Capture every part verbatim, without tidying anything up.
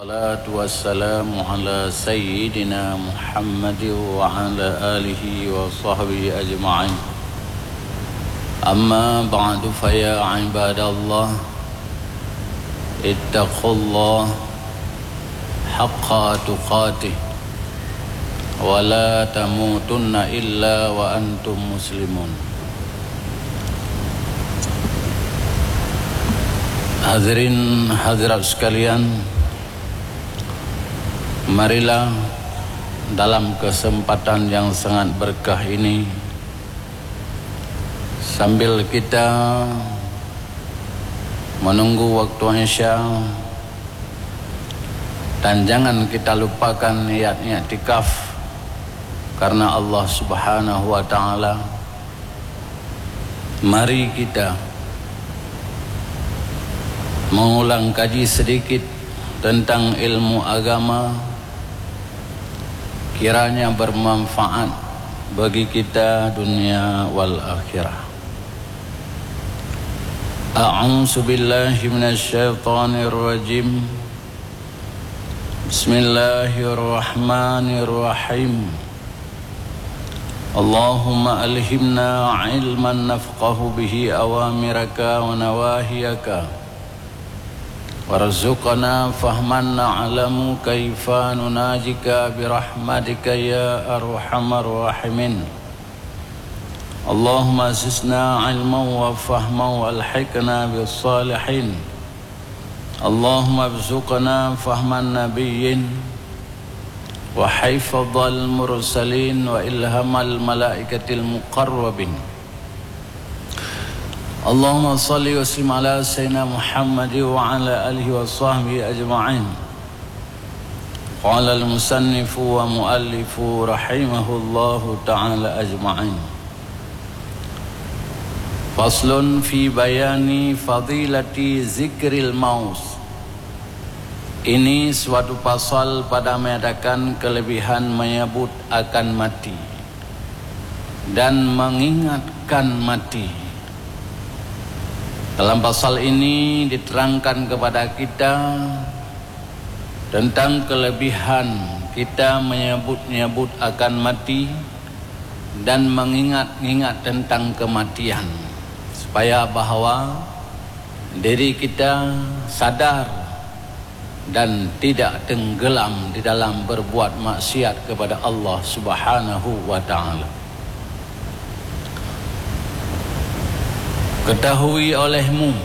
Salatu wassalamu ala sayyidina Muhammad wa ala alihi wa sahbihi ajma'in. Amma ba'du, fa ya ibadallah, ittaqullah haqqa tuqatih, wa la tamutunna illa wa antum muslimun. Hadirin hadirat sekalian, marilah dalam kesempatan yang sangat berkah ini, sambil kita menunggu waktu Isya, dan jangan kita lupakan niat iktikaf karena Allah Subhanahu wa Ta'ala. Mari kita mengulang kaji sedikit tentang ilmu agama, kiranya bermanfaat bagi kita dunia wal akhirah. A'udzubillahi minasyaitonirrajim. Bismillahirrahmanirrahim. Allahumma alhimna ilman nafqahu bihi awamiraka wa nawahiyaka. Warzuqna fahman na'lamu kaifa nunajika birahmatika ya arhamar rahimin. Allahumma zidna ilman wa fahman wa alhiqna bis salihin. Allahumma rzuqna fahman nabiyyin wa hifdzal mursalin wa ilhamal malaikatil muqarrabin. Allahumma shalli wa sallim ala sayyidina Muhammad wa ala alihi wa sahbihi ajma'in. Qala al-musannifu wa muallifu rahimahullahu ta'ala ajma'in. Faslun fi bayani fadilati zikril maut. Ini suatu pasal pada menyatakan kelebihan menyebut akan mati dan mengingatkan mati. Dalam pasal ini diterangkan kepada kita tentang kelebihan kita menyebut-nyebut akan mati dan mengingat-ingat tentang kematian, supaya bahwa diri kita sadar dan tidak tenggelam di dalam berbuat maksiat kepada Allah Subhanahu wa Ta'ala. Ketahui olehmu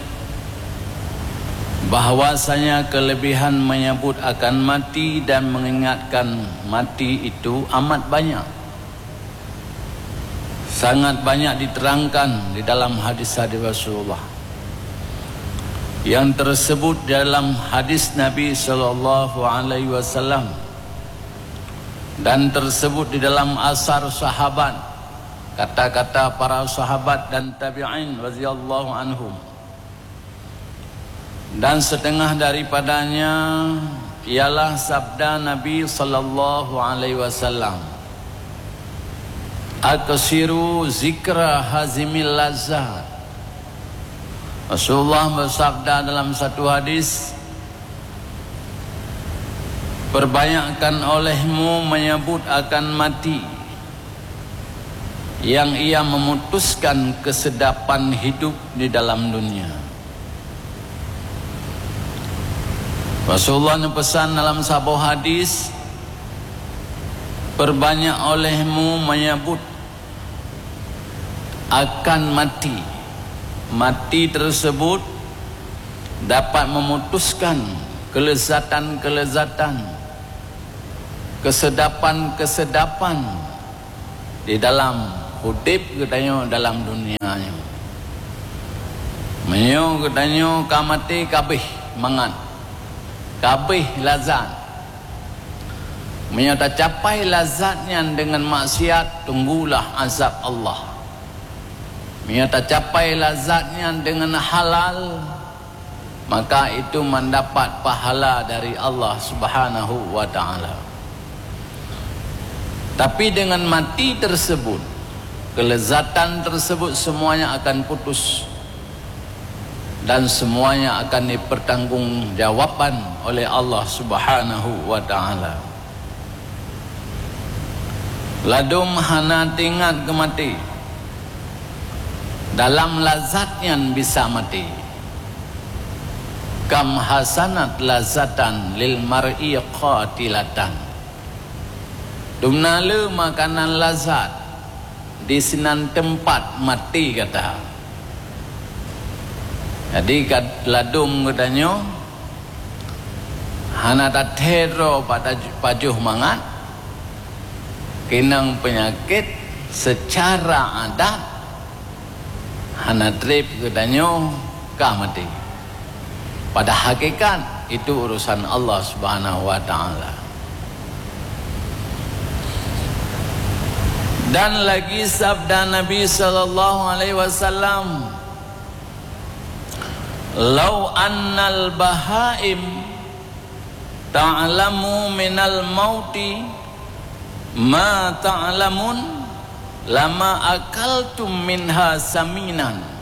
bahwasanya kelebihan menyebut akan mati dan mengingatkan mati itu amat banyak. Sangat banyak diterangkan di dalam hadis-hadis Rasulullah. Yang tersebut dalam hadis Nabi sallallahu alaihi wasallam dan tersebut di dalam asar sahabat, kata-kata para sahabat dan tabi'in radhiyallahu anhum. Dan setengah daripadanya ialah sabda Nabi sallallahu alaihi wasallam, "Aksiru zikra hazimil lazat." Rasulullah bersabda dalam satu hadis, "Perbanyakkan olehmu menyebut akan mati yang ia memutuskan kesedapan hidup di dalam dunia." Rasulullah neupesan dalam saboh hadis, "Perbanyak olehmu menyebut akan mati." Mati tersebut dapat memutuskan kelezatan-kelezatan, kesedapan-kesedapan di dalam udeb geutanyoe dalam dunia nyoe. Meunyoe geutanyoe ka maté, ka abéh mangat, ka abéh lazat. Meunyoe tacapai lazat nyan deungon maksiat, tunggulah azab Allah. Meunyoe tacapai lazat nyan deungon halal, maka itu mendapat pahala dari Allah Subhanahu wa Ta'ala. Tapi dengan mati tersebut, kelezatan tersebut semuanya akan putus. dan semuanya akan dipertanggungjawabkan oleh Allah Subhanahu wa Ta'ala. Ladum hana teuingat keu maté, dalam lazat nyan bisa maté. Kam hasanat lazatan lil mar'i qatilatan. Dumna le makanan lazat di sinan teumpat maté gata. Jadi, kat ladum geutanyoe hana tathee droe pajoh mangat, keunong peunyakét seucara adat hana treb geutanyoe ka maté. Pada hakikat, itu urusan Allah Subhanahu wa Ta'ala. Dan lagi sabda Nabi sallallahu alaihi wasallam, "Lau annal bahaim ta'lamu minal mauti ma ta'lamun, lama akaltum minha saminan."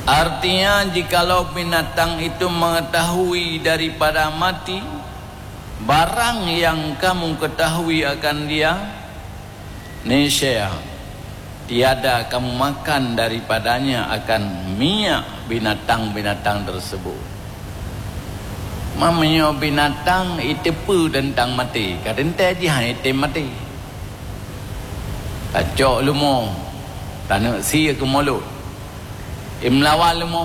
Artinya, jikalau binatang itu mengetahui daripada mati barang yang kamu ketahui akan dia, niscaya tiada kamu makan daripadanya akan minyak binatang-binatang tersebut. Meunyoe binatang iteupeue teuntang maté, ka teuntée jih han item maté. Tacok leumo, taneuk sie keu mulot. Imeulawan leumo.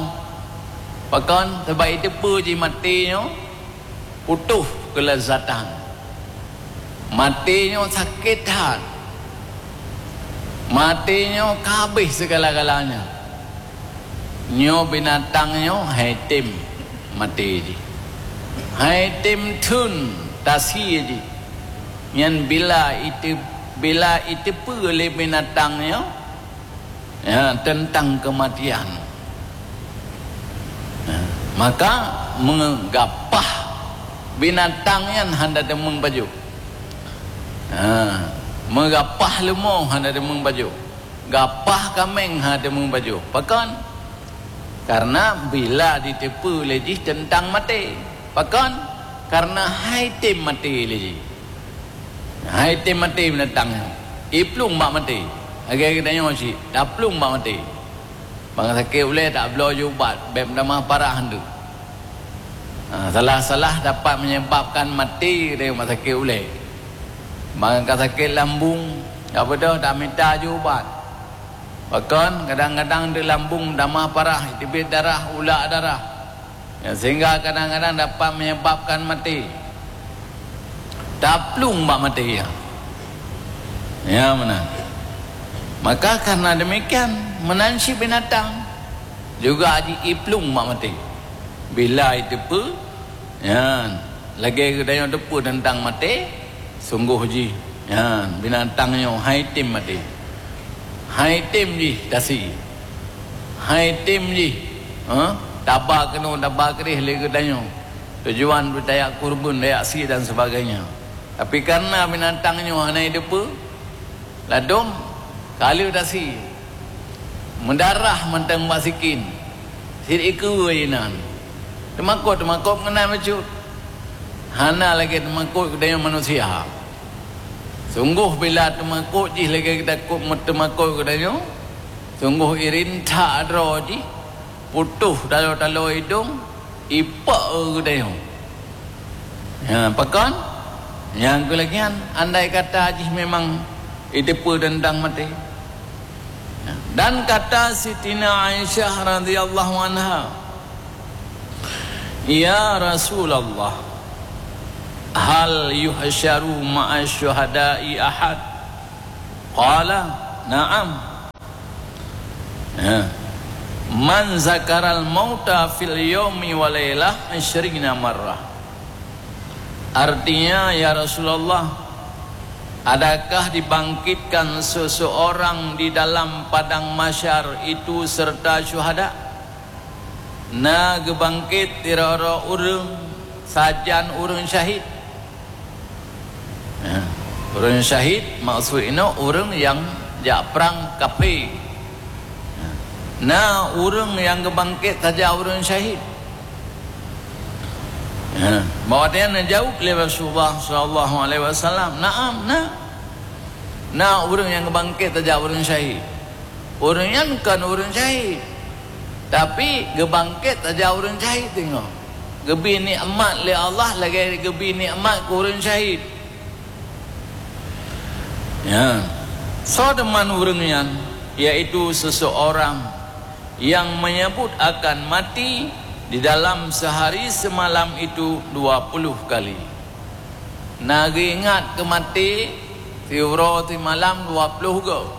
Pakon? Sabab iteupeue jih maté nyoe putôh keulezatan. Maté nyoe sakét that. Maté nyoe ka habéh segala-galanya. Nyoe binatang nyoe han item maté jih. Han item theun tasie jih. Nyan bila ite-, bila iteupeue lé binatang nyoe, ya, teuntang keumatian. Nah, maka meugapah binatang nyan hana deungon bajoh. Ha, meugapah leumo hana deungon bajoh. Gapah kaméng hana deungon bajoh. Pakon? Karena bila diteupeue lé jih teuntang maté. Pakon? Karena han item maté lé jih. Han item maté binatang nyan. Iplueng bak maté. Lagée geutanyoe cit, taplueng bak maté. Bang sakét ulée tabloe jih ubat, bék meutamah parah nteuk. Ha, salah-salah dapat menyebabkan maté dari rumah sakét ulée. Bang ka sakét lambung, ka beudôh tamita jih ubat. Pakon, kadang-kadang di lambung meutamah parah, teubiet darah, ulak darah. Ya, sehingga kadang-kadang dapat menyebabkan maté. Taplueng bak maté, ya. Ya, meunan. Maka karena demikian, meunan cit binatang juga jih iplueng bak maté. Bila iteupeue, nyan, lagée geutanyoe teupeue teuntang maté, sunggoh jih, nyan, binatang nyoe han item maté. Han item jih tasie. Han item jih, ha, taba keunoe, taba keudeh lé geutanyoe. Tujuan beutayak kurban, tayak sie dan sebagainya. Tapi karena binatang nyoe hana iteupeue, ladom ka lheueh tasie. Meudarah mantong bak sikin. Sit ikeue inan. Teumakot-teumakot meunan bacut. Hana lagée teumakot geutanyoe manusia. Sunggoh bila teumakot jih lagée takot teumakot geutanyoe, sunggoh irin that droe jih, putôh taloe-taloe idong, ipok geutanyoe. Ya, pakon? Nyang keulagian, andai kata jih memang iteupeue teuntang maté. Ya. Dan kata Sitina Aisyah radhiyallahu anha, "Ya Rasulullah, hal yuhsyaru ma'a syuhada'i ahad?" Qala, "Na'am." Ya. "Man zakaral mauta fil yaumi wa lailah isyrina marrah." Artinya, "Ya Rasulullah, adakah dibangkitkan seseorang di dalam padang mahsyar itu serta syuhada?" Na geubangkét sidroe-droe ureuëng sajan ureuëng syahid. Nah, ureuëng syahid maksud inoe ureuëng nyang jak prang kafé. Nah, Na ureuëng nyang geubangket saja ureuëng syahid? Ha, bak watée nyan neujaweueb lé Rasulullah sallallahu alaihi wasallam, "Na'am, na." Na ureuëng nyang geubangket saja ureuëng syahid. Ureuëng nyan kon ureuëng syahid, tapi geubangket saja ureuëng syahid teungoh. Geubri nikmat lé Allah lagée geubri nikmat keu ureuëng syahid. Ya. Soe teuma ureuëng nyan? Yaitu seseorang yang menyebut akan mati di dalam sehari semalam itu dua puluh kali. Na geuingat keu maté siuroe simalam dua puluh goe.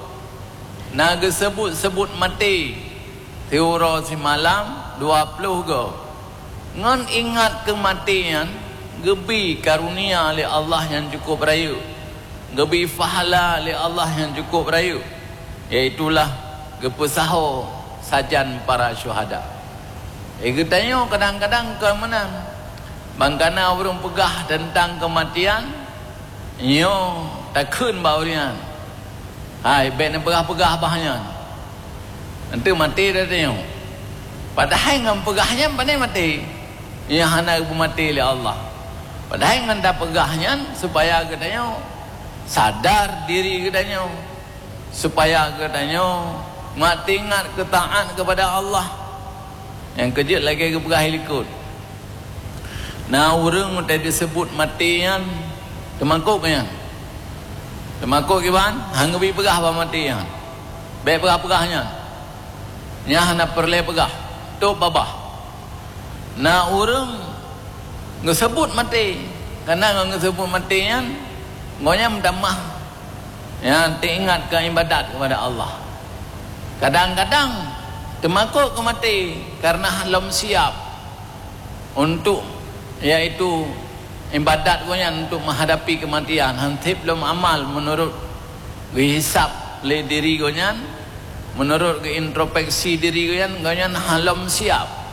Na geuseubut-seubut maté siuroe simalam dua puluh goe. Ngon ingat keu maté nyan, geubri karunia lé Allah nyang cukup rayeuk, geubri pahala lé Allah nyang cukup rayeuk, yaitulah geupeusaho sajan para syuhada. Eh, geutanyoe kadang-kadang kon meunan. Ban kana ureuëng peugah teuntang keumatian, nyoe takheun bak ureuëng nyan, "Hai, bék neupeugah-peugah bah nyan. Eunteuk maté dah tanyoe." Padahai ngon peugah nyan pane maté. Nyang hana geupeumaté lé Allah. Padahai ngon tapeugah nyan supaya geutanyoe sadar diri geutanyoe. Supaya geutanyoe meuingat keu taát keupada Allah. Nyang keujeuet lagée geupeugah i likot. Na ureuëng watée jiseubut maté nyan, teumakot geuh nyan. Teumakot kiban, han geubri peugah bak maté nyan. Bék peugah-peugah nyan. Nyan hana peureulée peugah. Tôb babah. Na ureuëng geuseubut maté, kana ngon geuseubut maté nyan, gobnyan meutamah, nyan teuingat keu iébadat keupada Allah. Kadang-kadang teumakot keu maté kareuna lom siab untuk, yaitu iébadat gobnyan untuk meuhadapi keumatian, han seb lom amal meunurot geuhisab lé diri gobnyan, meunurot geuintropeksi diri gobnyan, gobnyan han lom siab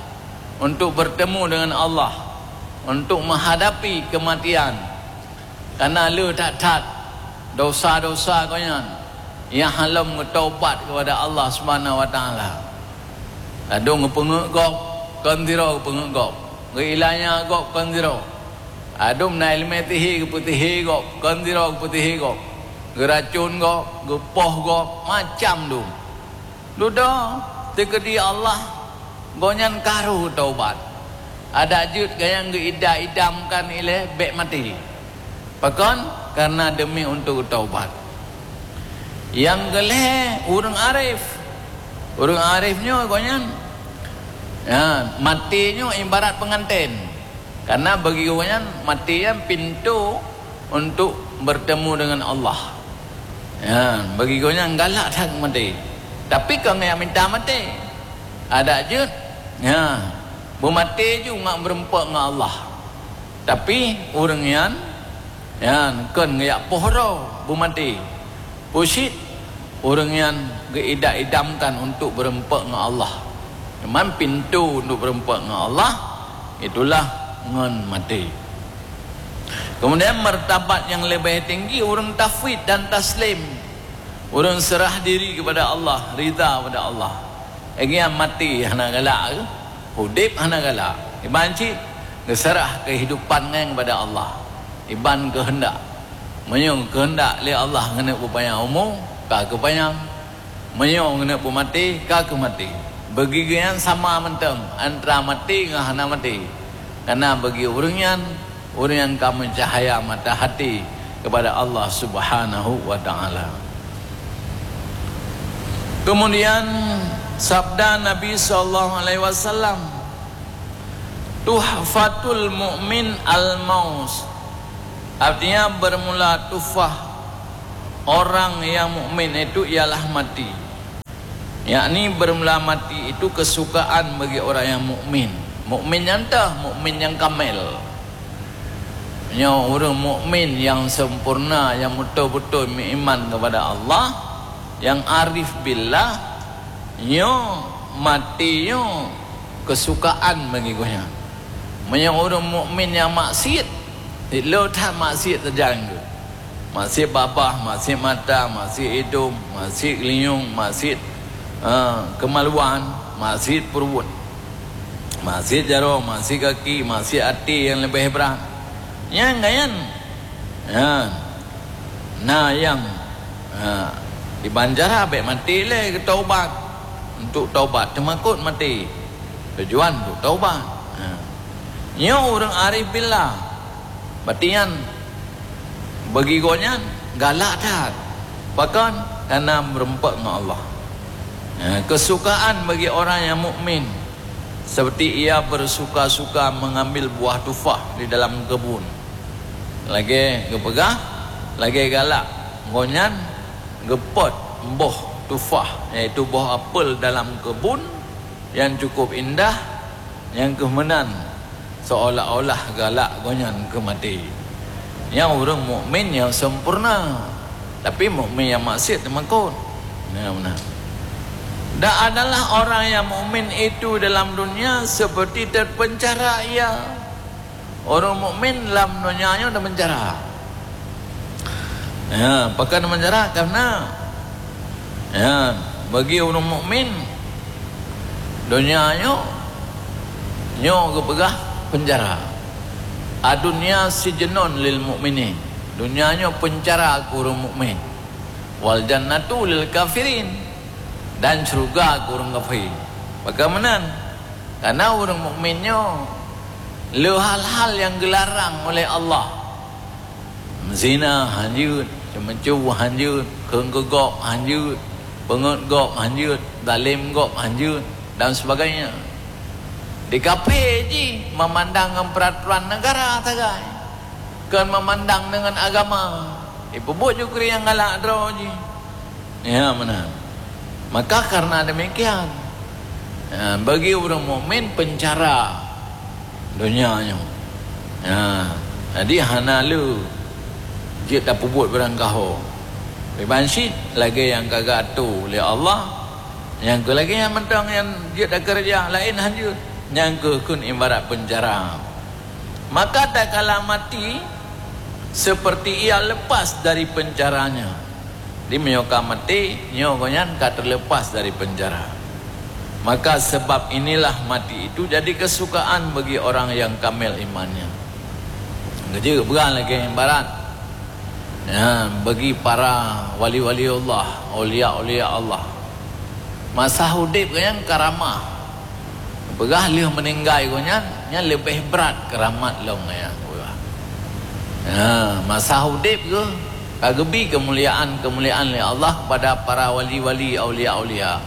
untuk bertemu dengan Allah, untuk menghadapi kematian. Karena le that-that dosa-dosa gobnyan nyang han lom geutaubat keupada Allah Subhanahu wa Taala. Ladôm geupeungeut gob, kon sidroe geupeungeut gob. Geuilanya gob, kon sidroe. Ladôm na iéleumé sihé geupeusihé gob, kon sidroe geupeusihé gob. Geuracon gob, geupoh gob, macam dum. Dudoe, teukeudi Allah, gobnyan ka rhoh taubat. Adak jeuet gayang geuidam-idamkan ilée bék maté. Pakon? Karena demi untuk taubat. Nyang keulhée, ureuëng arif. Ureuëng arif nyoe gobnyan, ya, maté nyoe ibarat penganten. Karena bagi gobnyan, maté nyan pintoe untuk bertemu dengan Allah. Ya, bagi gobnyan galak that maté. Tapi kon geujak mita maté. Adak jeuet, ya, beumaté ju ngat meureumpok ngon Allah. Tapi ureuëng nyan, nyan kon geujak poh droe beumaté. Peue cit ureuëng nyan geuidam-idamkan untuk beureumpok ngon Allah. Memang pintoe untuk beureumpok ngon Allah, itulah ngon maté. Kemudian, martabat nyang leubeh tinggi ureuëng tafwid dan taslim. Ureuëng seurah diri keupada Allah, ridha keupada Allah. Lagée nyan maté hana galak, udeb hana galak. Iban cit geuseurah keuhidupan nyan keupada Allah. Iban keuheundak. Meunyoe keuheundak lé Allah keuneuk peupanyang umu, ka geupanyang. Meunyoe keuneuk peumaté, ka keumaté. Bagi geuh nyan sama mantong antara maté ngon hana maté. Karena bagi ureuëng nyan, ureuëng nyang ka meucahya mata hati keupada Allah Subhanahu wa Taala. Kemudian, sabda Nabi sallallahu alaihi wasallam, "Tuhfatul mu'min al-maut." Artinya, bermula tuhfah orang yang mukmin itu ialah mati. Yakni bermula mati itu kesukaan bagi orang yang mukmin. Mukmin nyang teuh, mukmin nyang kamel. Nyoe ureuëng mukmin nyang sempurna, nyang beutôi-beutôi meuiman kepada Allah, nyang arif billah, nyoe maté nyoe kesukaan bagi gobnyan. Meunyoe ureuëng mukmin nyang maksiet, dilot that maksiet teujalan geuh. Maksiet babah, maksiet mata, maksiet idong, maksiet geulinyueng, maksiet Ha, kemaluan, maksiat pruet, maksiat jaroe, maksiat kaki, maksiat até nyang leubeh brat. Nyang nyan, ha, na nyang, ha, iban cara bék maté lé geutaubat. Untuk taubat teumakot maté. Tujuan untuk taubat. Ha. Nyoe ureuëng arif billah. Bati nyan bagi gobnyan galak that. Pakon? Karena meureumpok ngon Allah. Ya, kesukaan bagi orang yang mukmin seperti ia bersuka-suka mengambil buah tufah di dalam kebun. Lagée geupeugah, lagée galak gobnyan geupot boh tufah, yaitu boh apel dalam kebun yang cukup indah, nyang keuh meunan seolah-olah galak gobnyan keu maté. Nyang ureuëng mukmin nyang sempurna, tapi mukmin nyang maksiat teumakot. Nah, meunan. Dan adalah orang yang mukmin itu dalam dunia seperti terpenjara ia. Ureuëng mukmin lam donya nyoe teupenjara. Ya, pakon teupenjara? Karena, ya, bagi ureuëng mukmin, donya nyoe, nyoe geupeugah penjara. Ad-dunya sijnun lil mukminin. Donya nyoe penjara keu ureuëng mukmin. Wal jannatu lil kafirin. Dan syurga keu ureuëng kafé. Pakon meunan? Karena ureuëng mukmin nyoe le hal-hal nyang geularang oleh Allah. Meuzina hanjeuet, ceumeucue hanjeuet, kheun keu gob hanjeuet, peungeut gob hanjeuet, zalem gob hanjeuet, dan sebagainya. Di kafé jih memandang ngon peuraturan negara sagai, kon memandang deungon agama. Ipeubuet ju keu nyang galak droe jih. Ya, meunan. Maka karena demikian, ya, bagi ureuëng mukmin penjara donya nyoe. Ya, jadi hana le jeuet tapeubuet barang gaho. Iban cit lagée nyang ka geuatoe lé Allah, nyang keu lagée nyan mantong nyang jeuet takeureuja, laén hanjeuet, nyang keu kheun ibarat penjara. Maka tatkala mati, seperti ia lepas dari penjaranya. Di meunyoe ka maté, nyoe gobnyan ka terlepas dari penjara. Maka sebab inilah mati itu jadi kesukaan bagi orang yang kamil imannya. Geujeuet peugah lagée ibarat, ya, bagi para wali-wali Allah, aulia-aulia Allah. Masa udeb gobnyan karamah. Peugah lheueh meuninggai gobnyan, nyan leubeh brat keuramat lom nyan. Ha, masa udeb geuh ka geubi keumuliaan-keumuliaan lé Allah kepada para wali-wali, aulia-aulia.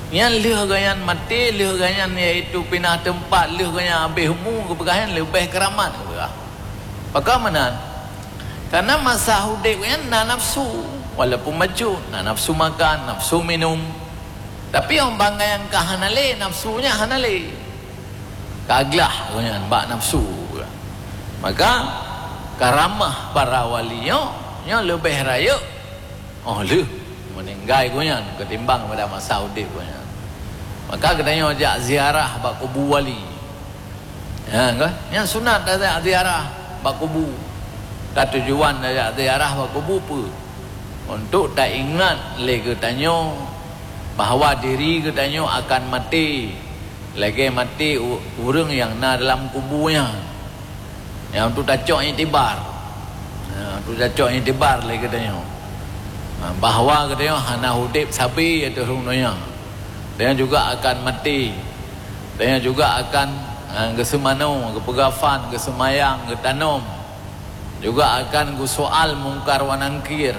Nyan lheueh gobnyan maté, lheueh gobnyan yaitu pinah teumpat, lheueh gobnyan habéh umu, geupeugah nyan leubeh keuramat geupeugah. Pakon meunan? Karena masa udeb nyan na nafsu, walaupun bacut, na nafsu makan, nafsu minum. Tapi óh banggai nyang ka hana lé, nafsu nyan hana lé. Ka glah gobnyan bak nafsu. Maka karamah para wali nyoe, nyoe leubeh rayeuk óh lheueh meuninggai gobnyan ketimbang pada masa udeb gobnyan. Maka geutanyoe jak ziarah bak kubu wali. Ya, kan? Nyang sunat tajak ziarah bak kubu. Ka tujuan tajak ziarah bak kubu peue? Untuk taingat lé geutanyoe bahwa diri geutanyoe akan maté, lagée maté u-, ureuëng nyang na dalam kubu nyan. Nyang untuk tacok iktibar. Ha, untuk tacok iktibar lé geutanyoe. Ha, bahwa geutanyoe hana udeb sabe ateueh rhueng donya. Geutanyoe juga akan maté. Geutanyoe juga akan, ha, geuseumanoe, geupeugafan, geuseumayang, geutanom. Juga akan geusoal Mungkar wa Nakir.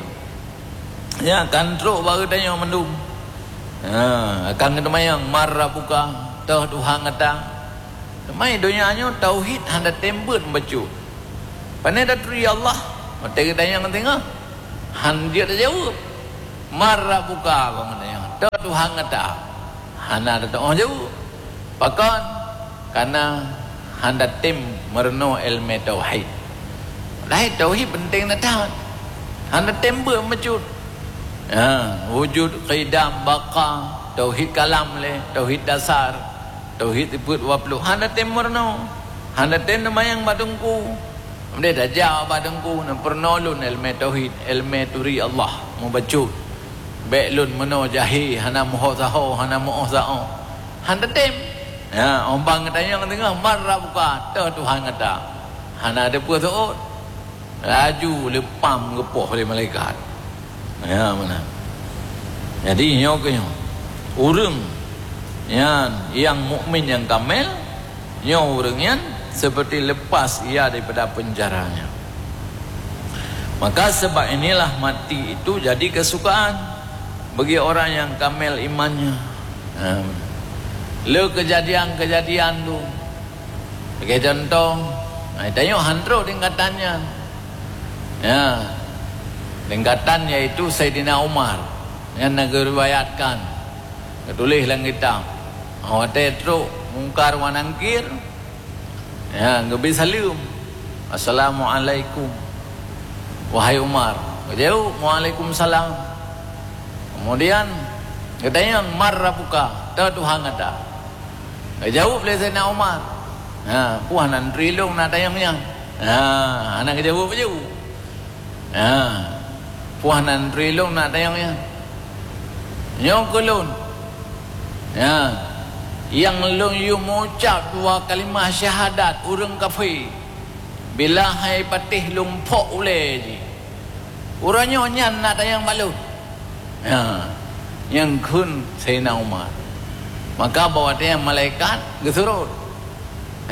Ya, akan trok bak geutanyoe mandum. Ha, akan geuteumanyong, "Man rabbuka?" Toh Tuhan gata? Teuma donya nyoe tauhid hana tem beuet bacut. Pane taturi Allah? Watée geutanyong teungoh, han jeuet tajaweueb. "Man rabbuka?" Bang geutanyong, "Toh Tuhan gata?" Hana tatu'oh jaweueb. Pakon? Karena hana tem meurunoe iéleumé tauhid. Padahai tauhid penting that. Hana tem beuet bacut. Ha, wujud, qidam, baqa, tauhid kalam lé, tauhid dasar, tauhid sifeuet dua puluh. Hana tem meurunoe. Hana tem neumayang bak teungku. Meudeh tajak bak teungku, neupeurunoe lôn iéleumé tauhid, iéleumé turi Allah, mubacut. Bèk lôn meunoe jahé, hana meuho saho, hana meuoh saoh. Han teutem. Ya, 'oh ban geutanyong teungoh, "Man rabbuka?" "Toh Tuhan gata." Hana teupeu-seuôt. Laju leupam geupoh lé malaikat. Ya, meunan. Jadi, nyoe keuh nyoe. Ureueng nyan, nyang mukmin nyang kamel, nyoe ureueng nyan seperti lepas ia daripada penjaranya. Maka sebab inilah mati itu jadi kesukaan bagi orang yang kamel imannya. Ha. Le kejadian-kejadian tu. Sebagai contoh, ha, tanyoe han trok tingkatan nyan. Ya. Tingkatan yaitu Saidina Umar. Nyan na geuriwayatkan. Geutuléh lam kitab. Watèe trok Mungkar wa Nangkir, ya, geubri saleuem, "Assalamualaikum, wahai Umar." Geujaweueb, "Waalaikumsalam." Kemudian geutanyong, "Man rabbuka?" "Toh Tuhan gata?" Geujaweueb lé Saidina Umar, "Ha, peue hana neuturi lôn na tanyong nyan?" Ha, hana geujaweueb laju. Ha, peue hana neuturi lôn na tanyong nyan? Nyoe keuh lôn. Ha, nyang lôn yue meuucap dua kalimah syahadat ureueng kafé, bila hai patéh lôn phok ulèe jih. Uroe nyoe nyan na tanyong bak lôn. Ha, nyang kheun Saidina Umar. Maka bak watèe nyan malaikat geusurot.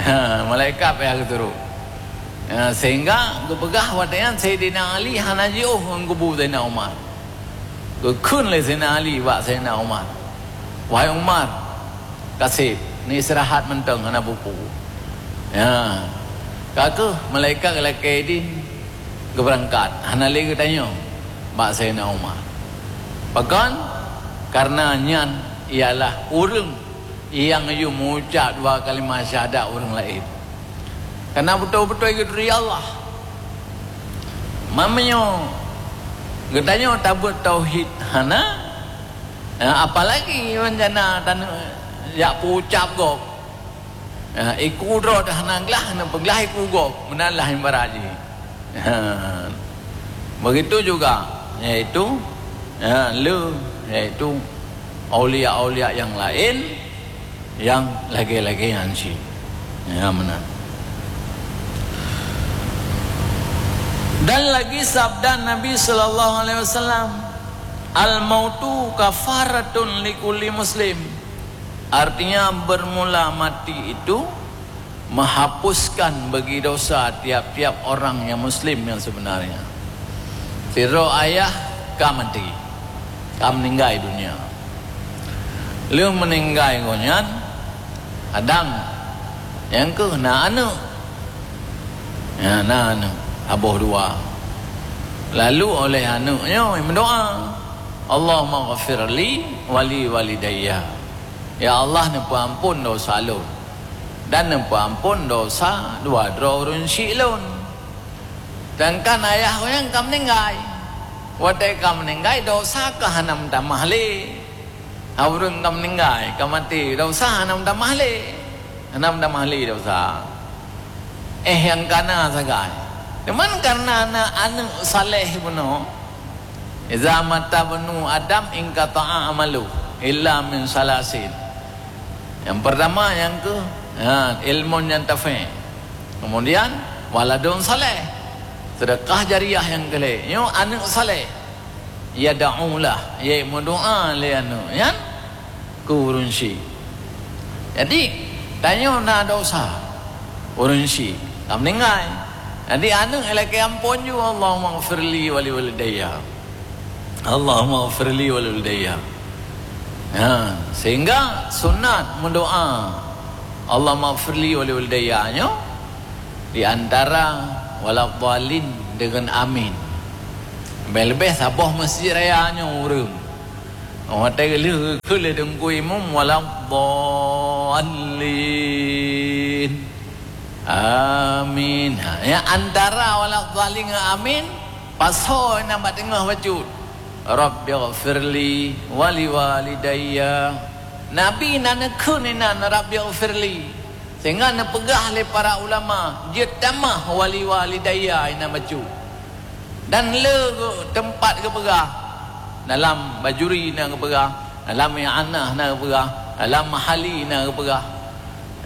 Ha, malaikat payah geusurot. Ha, sehingga geupeugah watèe nyan Saidina Ali hana jiôh ngon kubu Saidina Umar. Geukheun lé Saidina Ali bak Saidina Umar, "Wahai Umar, ka sép, neuistirahat mantong hana peue-peue." Ya. Ka keuh malaikat geulakèe idin geubeurangkat, hana lé geutanyong bak Saidina Umar. Pakon? Karena nyan ialah ureueng nyang yue meuucap dua kalimah syahadat ureueng laén. Kana beutôi-beutôi geuturi Allah. Meunyoe geutanyoe tabeuet tauhid hana, eh, apalagi rencana taneuk jak peuucap gob. Eh, iku droe dah hana glah, neupeuglah iku gob, meunan lah ibarat jih. Ha. Begitu juga, yaitu, ya, le, yaitu aulia-aulia nyang laén nyang lagèe-lagèe nyan cit. Ya, meunan. Dan lagi sabda Nabi sallallahu alaihi wasallam, "Al-mautu kafaratun likulli muslim." Artinya, bermula mati itu menghapuskan bagi dosa tiap-tiap orang yang muslim yang sebenarnya. Sidroe ayah ka maté, ka meuninggai dunia. Lheueh meuninggai gobnyan, kadang nyang keuh na aneuk. Ya, na aneuk, saboh dua. Lalu oleh aneuk nyoe meudoa, "Allahumma ghafirli wa li walidayya." Ya Allah, neupeuamphon dosa lôn dan neupeuamphon dosa dua droe ureueng syik lôn. Sedangkan ayah gobnyan ka meuninggai. Watèe ka meuninggai, dosa ka hana meutamah lé. Ha, ureueng ka meuninggai, ka maté, dosa hana meutamah lé. Hana meutamah lé dosa. Eh, nyang kana sagai. Cuman karena na aneuk saleh bunoe, "Iza mata bnu Adam inqata'a amalu illa min salasin." Yang pertama nyang keuh, ha, ilmun yantafi'. Kemudian, waladun saleh. Sedekah jariah nyang keu lhèe. Nyoe aneuk saleh. Yad'ulah, nyang meudoa lé aneuk nyan keu ureueng syik. Jadi, tanyoe na dosa ureueng syik, ka meuninggai. Jadi, aneuk lakèe amphon ju, "Allahumma ghfirli wa li walidayya." "Allahumma ghfirli wa li walidayya." Ha, sehingga sunat meudoa, "Allahumma ghfirli wa li walidayya" nyoe di antara waladhdallin deungon amin. Leubeh-leubeh saboh masjid raya nyoe ureueng. Watèe lheueh keu lé Teungku Imum, "Waladhdallin. Amin." Ha, nyang antara waladhdallin ngon amin, pasoe nyang bak teungoh bacut, "Rabbighfirli wa li walidayya." Nabi na neukheun inan, "Rabbighfirli." Sehingga neupeugah lé para ulama, jeuet tamah "wa li walidayya" inan bacut. Dan le geu-, teumpat geupeugah, Dalam Bajuri na geupeugah, dalam I'anah na geupeugah, dalam Mahali na geupeugah.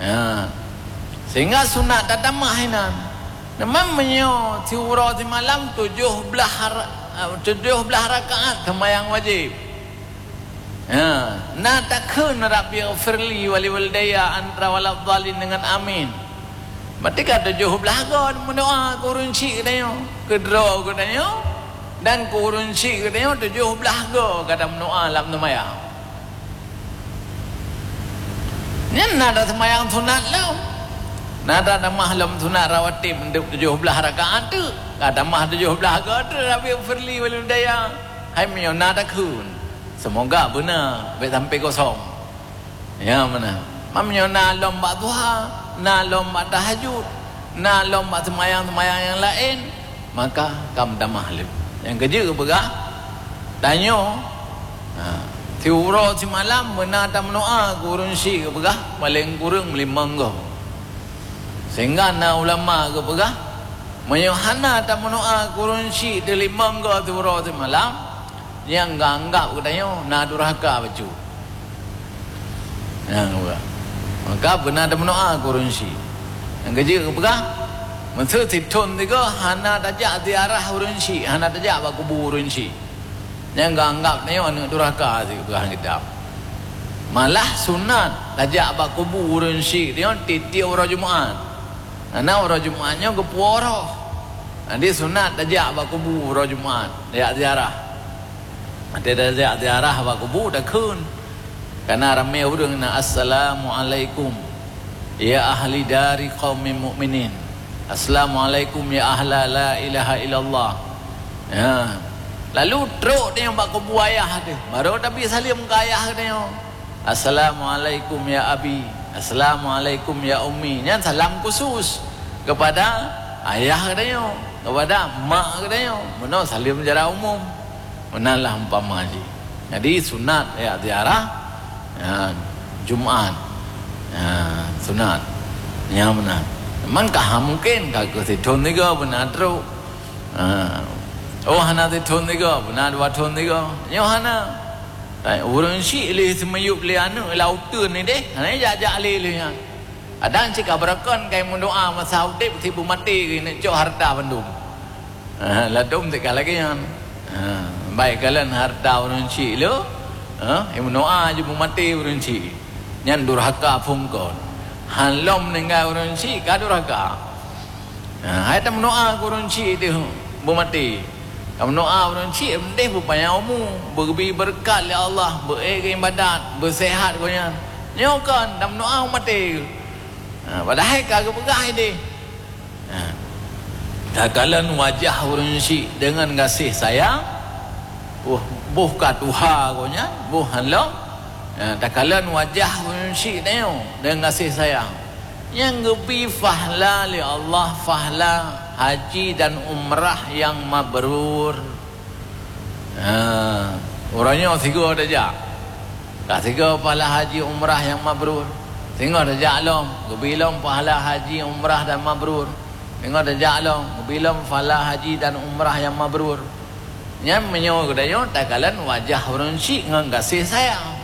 Ha. Sehingga sunat tatamah inan. Memang meunyoe siuroe simalam tujoh blaih ra-, tujoh blaih rakaat seumayang wajéb. Ha, na takheun, "Rabbighfirli wa liwalidayya" antara waladhdallin dengan amin. Berarti ka tujoh blaih go meudoa keu ureuëng syik geutanyoe, keu droe geutanyoe, dan keu ureuëng syik geutanyoe tujoh blaih go ka tameudoa lam seumayang. Nyan na taseumayang sunat lom. Na tatamah lom sunat rawatib untuk tujoh blaih rakaat tu. Ka tamah tujoh blaih go tu, "Rabbighfirli wa liwalidayya." Hai meunyoe na takheun. Seumoga beuna, bék sampai kosong. Ya, meunan. Meunyoe na lom bak duha, na lom bak tahajud, na lom bak seumayang-seumayang nyang laén, maka ka meutamah lé. Nyang keujeuet geupeugah, tanyoe, ha, siuroe simalam beuna tameudoa keu ureuëng syik geupeugah, paleng kureueng limong go. Sehingga na ulama geupeugah, meunyoe hana tameudoa keu ureuëng syik teulimong go siuroe simalam, nyang geuanggab geutanyoe na durhaka bacut. Nyang dua. Maka beuna tameudoa keu ureuëng syik. Nyang keujeuet geupeugah, meuseu sithon sigoe hana tajak ziarah ureuëng syik, hana tajak bak kubu ureuëng syik. Nyang geuanggab nyoe aneuëk durhaka sipeugah kitab. Malah sunat tajak bak kubu ureuëng syik nyoe tieb-tieb uroe Jumat. Karena uroe Jumat nyoe geupuwoe roh. Jadi sunat tajak bak kubu uroe Jumat, tajak ziarah. Watée tajak ziarah bak kubu takheun. Karena ramé ureuëng na, "Assalamualaikum ya ahli dari qaumin mukminin. Assalamualaikum ya ahla la ilaha illallah." Ya. Lalu trok dia bak kubu ayah dia. Baru Nabi salim ke ayah dia. "Assalamualaikum ya abi. Assalamualaikum ya ummi." Nyan salam khusus kepada ayah dia, kepada mak dia. Meunoe salim secara umum. Meunan lah umpama jih. Jadi sunat ya ziarah, ya, Jumat. Ya, sunat. Ya, meunan. Memang ka mungkin ka keu sithon tiga beuna trok. Ha. Oh, hana sithon tiga, beuna dua thon tiga. Nyoe hana. Ureuëng syik lé seumiyup lé aneuëk lam uteuen ni deh. Hana jak-jak lé lé nyan. Kadang cit ka beureukan kai meudoa masa udeb, si beumaté geuh neuk cok hareuta bandum. Ha, ladom teuka lagée nyan. Ha, baik kalon hareuta ureuëng syik le, ha, meudoa jih beumaté ureuëng syik. Nyan durhaka phon kon. Han lom meuninggai ureuëng syik ka durhaka. Ha, hai tameudoa keu ureuëng syik teuh beumaté. Tameudoa ureuëng syik meudeh beupanyang umu, beugeubi beureukat lé Allah, beu-ék geuibadat, beuseuhat gobnyan. Nyoe kon tameudoa beumaté. Ha, padahai ka geupeugah ideh. Ha. Takalon wajah ureuëng syik deungon gaséh sayang, boh, boh ka tuha gobnyan, boh han lom. Ha, takalon wajah ureuëng syik tanyoe deungon gaséh sayang. Nyang geubi fahla lé Allah, fahla haji dan umrah nyang mabrur. Ha, uroe nyoe sigoe tajak. Ka sigoe pahala haji umrah nyang mabrur. Singoh tajak lom, geubi lom pahala haji umrah dan mabrur. Singoh tajak lom, geubi lom pahala haji dan umrah nyang mabrur. Nyan meunyoe geutanyoe takalon wajah ureuëng syik ngon gaséh sayang.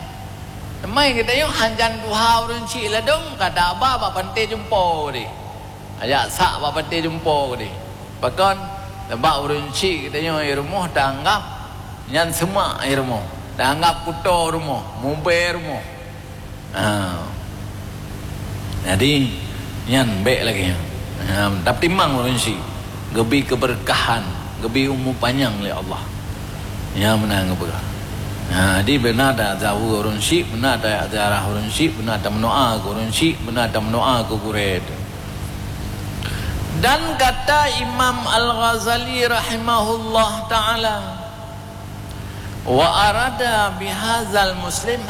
Teuma geutanyoe hanjan tuha ureuëng syik ladom ka taba bak panté jumpo deh. Ajak sak bak panté jumpo deh. Pakon? Sabab ureuëng syik geutanyoe i rumoh taanggab nyan seumak i rumoh, taanggab kuto rumoh, mubée rumoh. Ha. Jadi nyan bék lagée nyan. Ha, tapi mang ureuëng syik geubi keubeureukahan, geubi umu panyang lé Allah. Nyan meunan geupeugah. Ha, jadi beuna tazawe ureuëng syik, beuna taziarah ureuëng syik, beuna tameudoa keu ureuëng syik, beuna tameudoa keu gurée teuh. Dan kata Imam Al-Ghazali rahimahullah taala, "Wa arada bihadzal muslim